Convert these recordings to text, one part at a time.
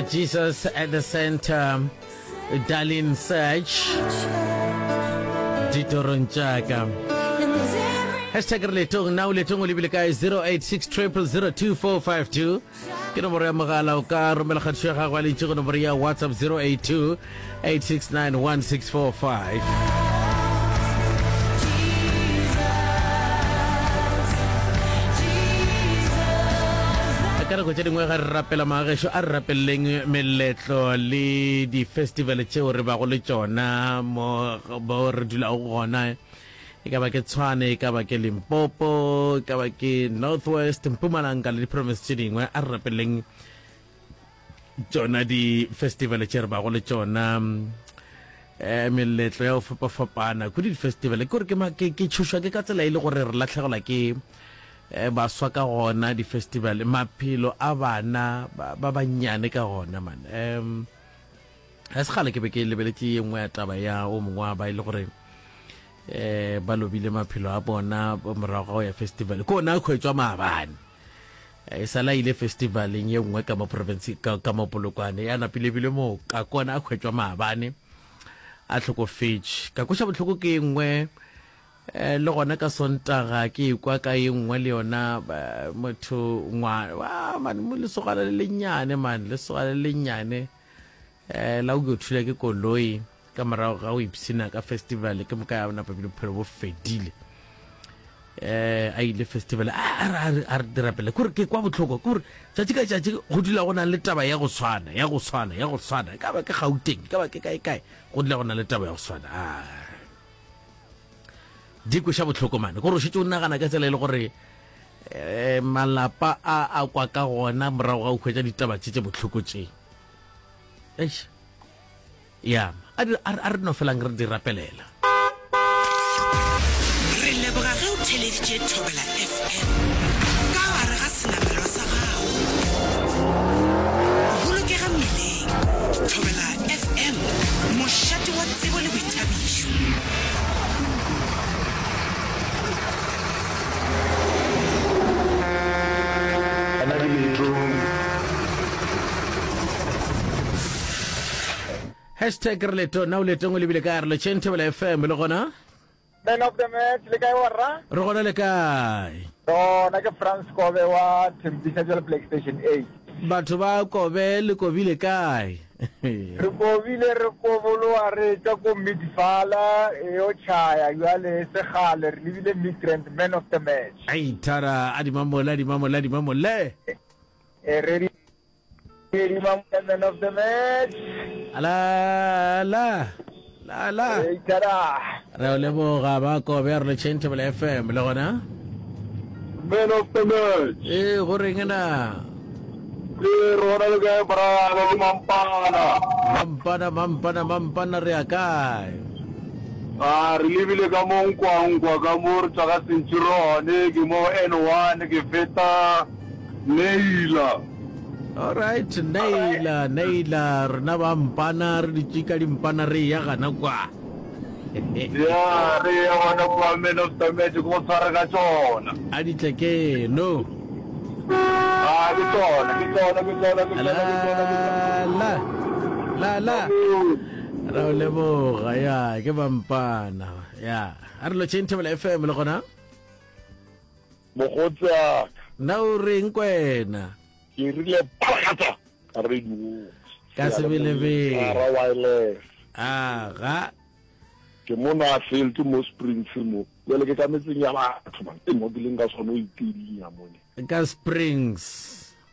Jesus at the center, Darlene Search, ditorong tša ka. Hashtag re letong, na o letong o lebile kae? 086 0002452 ke nomoro ya mogala o ka romela kgatišo ya gago ya lentši go nomoro ya WhatsApp 082 869 1645. Ka nako tše dingwe ga re rapela magešo a re rapeleleng meletlo le di-festival tšeo re bago le tšona mo mo re dulago gona e ka ba ke Tshwane e ka ba ke Limpopo e ka ba ke North West Mpumalanga le di-province tše dingwe a re rapeleleng tšona di-festival tše re bago le tšona um meletlo ya go fapafapana kudu di-festival ke gore ke tšhošwa ke ka tsela e le gore re latlhegelwa ke eh, baswa ka gona di-festival maphelo a bana ba bannyane ka gona man um ga se kgale ke be ke lebeletše ye nngwe ya taba ya o mongwe wa ba e le gore um ba lobile maphelo a bona morago ga go ya festival ke ona a khwetšwa maabane E sa le a ile festivaleng ye nngwe ka mo province ka, ka mo Polokwane, ya napile bile mo ka kona a hwetšwa maabane a hlokofetše. Ka kweša bohloko ke ye nngwe eh, le gona ka Sontaga ke ekwa ka ye nngwe le yona eh, motho ngwa wa man mo lesogana le lennyane man lesogana le lennyane eh, la o ke thula ke koloi Ka morago ga go ipshina ka festival ke moka ya napa bile bophelo bo fedile. Eh a ile festival a re a re dirapele kore ke kwa bohloko kore tšatši ka tšatši go dula go na le taba ya go swana ya go swana ya go swana ka ba ke Gauteng ka ba ke kae kae go dula go na le taba ya go swana a di kweša bohloko mane gore o šetše o nagana ka tsela e le gore eh malapa a a kwa ka gona morago ga go hwetša ditaba tše tše bohloko tše eish Ya, a di, a re, a re no felang re di rapelela. Re leboga ge o theleditše Thobela FM ka gare ga senamelwa sa gago. Bolokega mmileng. Thobela FM, mošate wa tsebo le boithabišo. Ana ke leetong. Hashtag re leto na o letong o lebile kae re letšeng Thobela FM le gona Man of the match le kae warra? Re gona le kae? Gona ke Frans Kobe wa Thembisa jwale Black Station 8. Batho ba Kobe le kobile kae? Re kobile re koboloa re tšwa ko Midvala e yo tšhaya jwale e se kgale re lebile Midrand man of the match. Ai thara a di mamole a di mamole a di mamole. E re Man of the match. La la la la. Re o leboga ba kobe re le Chantable FM le gona. Man of the match. Eh go reng na? Eh re gona le kae Brian le Mampana. Mampana Mampana Mampana re ya kae? A re lebile ka mo nkwankwa ka mo re tswa ka Centurion ke mo N1 ke feta Neila. Alright, Neila, Neila, rena ba mpana re dutše ka dimpana re eya gana kwa. Ya, re eya gona kwa man of the match ke go tshware ka tšona. A di tle ke no. Ah, ke tšona, ke tšona, ke tšona, ke tšona, ke tšona, ke tšona. La, la, la. Ra o leboga, ya, ke ba mpana. Ya, a re lotšheng Thobela FM le gona. Mokgotsi wa ka. Na o reng kwena? Ke rile phatsa ka radio. Ka sebelebele. Ara wireless. Aga. Ke mo na field mo Springs mo. Jale ke ka metseng ya batho man. E mo ke leng ka sone o itidinya mo ne. Ka Springs.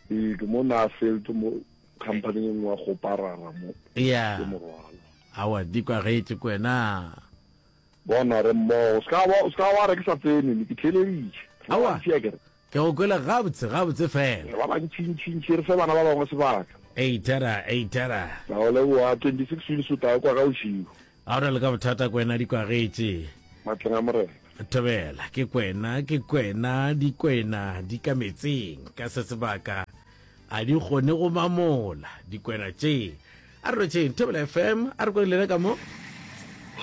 Ee, ke mo na field mo company e nngwe ya go parara mo. Yeah. Ke morwalo. Awa di kwagetše kwena. Bona, re mmogo. O se ka wa, o se ka wa re ke sa tsene, ne ke theeleditše. Re ba Aowa. bantši, akere? Ke go kwele gabotse, gabotse fela. Re ba bantšintšintši, re fe bana ba bangwe sebaka. Ei, thera, ei, thera. Ke a go leboga. 26 June o tla kwa ka bošego. Ga o na le ka bothata, Kwena, di kwagetše. Matleng a Morena. Thobela, ke Kwena, ke Kwena, dikwena di ka metseng, ka se sebaka a di kgone go mamola, dikwena tše. A re lotšheng, Thobela FM, a re kweng lena ka mo.